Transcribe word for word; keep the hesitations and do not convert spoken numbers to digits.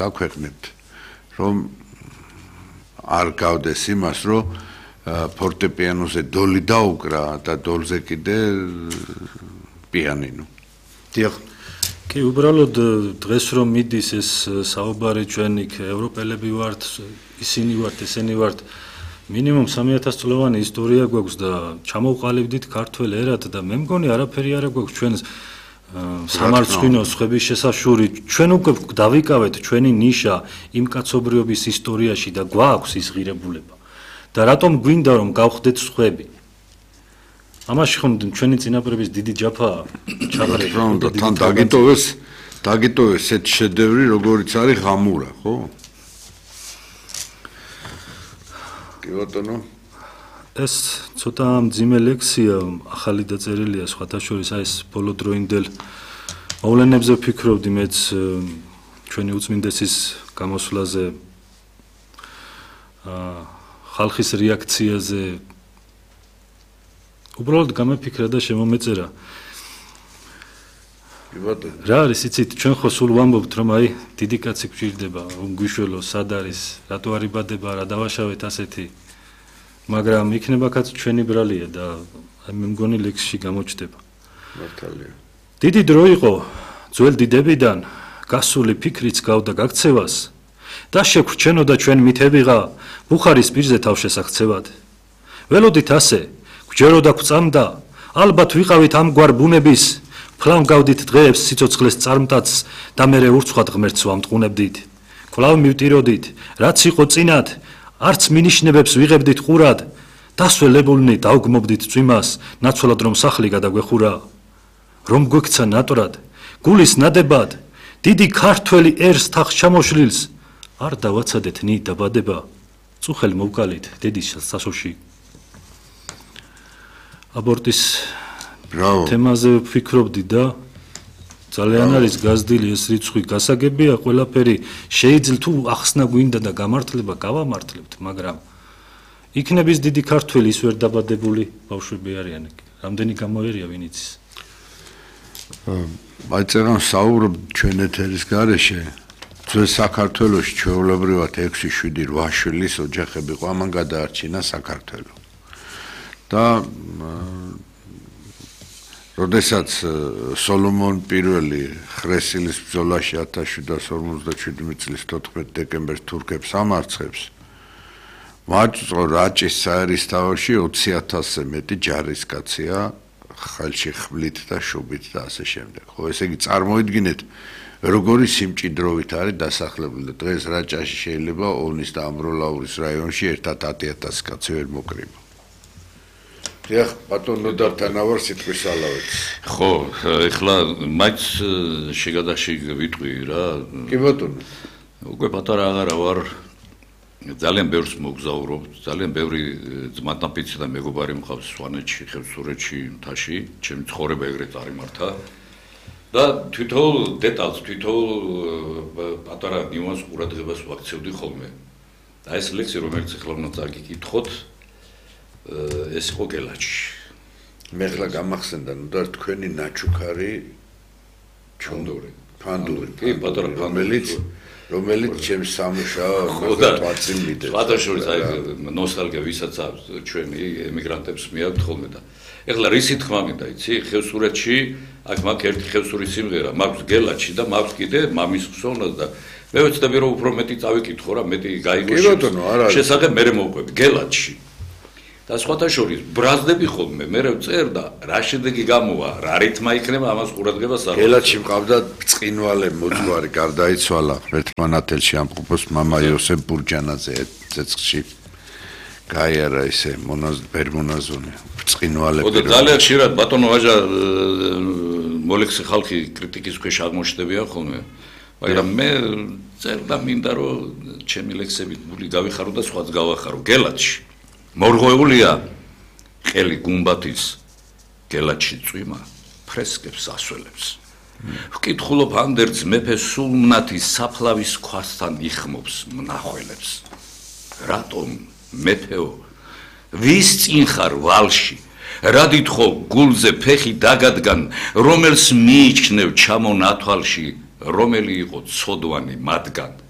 საქვეყნებთ, რომ არ გავდეს იმას, რომ ფორტეპიანოზე დოლი დაუკრა და დოლზე კიდე პიანინო. დიახ. კი, უბრალოდ დღეს რომ მიდის ეს საუბარი ჩვენ იქ ევროპელები ვართ, ისინი ვართ, ესენი ვართ, მინიმუმ სამი ათას წლოვანი ისტორია გვაქვს და ჩამოვყალიბდით ქართველ ერად და მე მგონი არაფერი არ გვაქვს ჩვენს სამარცხვინო სხვების შესაშური, ჩვენ უკვე დავიკავეთ ჩვენი ნიშა იმ კაცობრიობის ისტორიაში და გვაქვს ის ღირებულება. და რატომ გვინდა რომ გავხდეთ სხვები? ამაში ხომ ჩვენი წინაპრების დიდი ჯაფაა ჩაღრებული და თან დაგიტოვეს დაგიტოვეს ეს შედევრი როგორიც არის ღამურა, ხო? კი ბატონო, ეს ცოტა მძიმე ლექსია, ახალი დაწერილია სხვათა შორის აი ეს ბოლოდროინდელ მოვლენებზე ვფიქრობდი მეც ჩვენი უწმინდესის გამოსვლაზე აა ხალხის რეაქციაზე უბრალოდ გამეფიქრა და შემომეწერა. რა არის იცით, ჩვენ ხო სულ ვამბობთ რომ აი დიდი კაცი გვჭირდება, რომ გვიშველო, სად არის, რატო არ იბადება, რა დავაშავეთ ასეთი. მაგრამ იქნება კაც ჩვენი ბრალია და აი მე მგონი ლექსში გამოჩნდება. მართალია. დიდი დრო იყო ძველ დიდებიდან გასული ფიქრიც გავდა გაქცევას და შეგვჩენოდა ჩვენ მითებიღა ბუხარის პირზე თავშესაქცევად. ველოდით ასე გვჯეროდა გვწამდა, ალბათ ვიყავით ამგვარ ბუნების, ფლავ გავდით დღეებს სიცოცხლეს წარმტაც და მერე ურცხვად ღმერთს ვამტყუნებდით. კვლავ მივტიროდით, რაც იყო წინათ, არც მინიშნებებს ვიღებდით ყურად, დასველებულნი დავგმობდით წვიმას, ნაცვლად რომ სახლი გადაგვეხურა. რომ გვექცა ნატრად, გულის ნადებად, დიდი ქართველი ერს თახს ჩამოშლილს, არ დავაცადეთ ნი დაბადება, წუხელ მოვკალით დედის სასოში. აბორტის თემაზე ვფიქრობდი და ძალიან არის გაზრდილი ეს რიცხვი, გასაგებია ყველაფერი, შეიძლება თუ ახსნა გვინდა და გამართლება გავამართლებთ, მაგრამ იქნების დიდი ქართველი ის ვერ დაბადებული ბავშვები არიან, რამდენი გამოერია ვინ იცის. აი წერან საუბრობ ჩვენ ეთერის გარეშე, ძველ საქართველოში ჩვეულებრივად ექვსი შვიდი რვა შვილის ოჯახები ყო, ამან გადაარჩინა საქართველო. და როდესაც სოლომონ პირველი ხრესილის ბრძოლაში ათას შვიდას ორმოცდაშვიდი წლის თოთხმეტი დეკემბერს თურქებს ამარცხებს, მოაწყო რაჭის საერისთავოში ოცი ათასზე მეტი ჯარისკაცია ხელში ხვლით და შუბით და ასე შემდეგ. ხო, ესე იგი წარმოიდგინეთ, როგორი სიმჭიდროვით არის დასახლებული და დღეს რაჭაში შეიძლება ოვნის და ამბროლაურის რაიონში ერთად ათი ათასი კაცი ვერ მოკრიბა. დიახ, ბატონო დართანავარ სიტყვის ალავეთ. ხო, ეხლა მაინც შეგადაში ვიტყვი რა. კი ბატონო. უკვე პატარა აღარა ვარ, ძალიან ბევრს მოგზაურობ, ძალიან ბევრი ძმათნაფიცი და მეგობარი მყავს სვანეთში, ხევსურეთში, მთაში, ჩემი ცხოვრება ეგრე წარიმართა. და თვითონ დეტალს, თვითონ პატარა ნიუანს ყურადღებას ვაქცევდი ხოლმე. და ეს ლექსი, რომელიც ეხლა უნდა წაგიკითხოთ, ეს იყო გელაჩი. მე ხლა გამახსენდა, ნუ და თქვენი ნაჩუქარი ჩონდური. ფანდური, კი, პატარა რომელიც რომელიც ჩემს სამუშაო თვალწინ მიდის. ფათაშორის აი ნოსტალგია ვისაც აქვს ჩვენი ემიგრანტებს მიაქვთ ხოლმე და ეხლა რისი თქმა მინდა, იცი, ხევსურეთში აქ მაქვს ერთი ხევსურის სიმღერა, მაქვს გელაჩი და მაქვს კიდე მამის ხსოვნას და მე ვეცდები რომ უფრო მეტი წავიკითხო რა, მეტი გაიგო შესახებ მერე მოვყვები გელაჩი. და სხვათა შორის ბრაზდები ხოლმე, მე ვწერ და რა შედეგი გამოვა, რა რითმა იქნება ამას ყურადღებას არ. გელაჩი მყავდა ბრწყინვალე მოძღვარი, გარდაიცვალა ერთმანათელში ამყოფოს მამა იოსებ ბურჯანაძე ცეცხლში. გაიარა ისე ბერმონაზონი, ბრწყინვალე. ო და ძალიან ხშირად ბატონო ვაჟა მოლექსი ხალხი კრიტიკის ქვეშ აღმოჩნდებიან ხოლმე. მაგრამ მე წერ და მინდა რომ ჩემი ლექსები გული გავიხარო და სხვაც გავახარო. გელაჩი მორღვეულია ყელი გუმბათის გელაჩი წვიმა ფრესკებს ასველებს. ვკითხულობ ანდერძ მეფე სულმნათის საფლავის ქვასთან იხმობს მნახველებს. რატომ მეფეო ვის წინ ხარ ვალში, რადით ხო გულზე ფეხი დაგადგან, რომელს მიიჩნევ ჩამონ ათვალში, რომელი იყო ცოდვანი მათგან.